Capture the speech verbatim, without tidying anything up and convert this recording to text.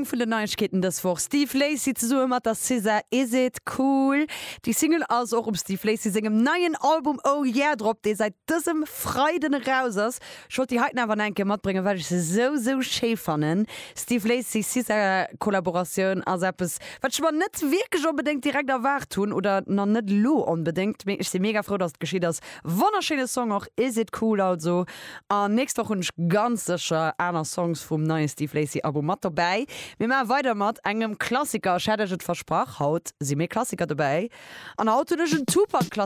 Eng vun den Neiegkeeten dës Woch, Steve Lacy zesumme mat der SZA, Is It Cool? Déi Single ass och um Steve Lacy sengem neien Album Oh Yeah drop, dee säit dësem Freiden eraus ass. Ech wollt déi heiten awer nach eng Kéier matbréngen, well ech se sou, sou schéi fannen. Steve Lacy SZA Kollaboratioun ass eppes, wat ech mer net wierklech onbedéngt direkt erwaart hunn oder nach net elo onbedéngt, mee ech si mega frou, dass et geschitt ass. Wonnerschéine Song och, Is It Cool also. An nächst Woch hunn ech ganz sécher aner Songs vum neie Steve Lacy Album mat dobäi. Mir maache weider mat engem Klassiker. Ech hat iech et versprach, haut si méi Klassiker dobäi. An haut hunn ech en Tupac Klassiker.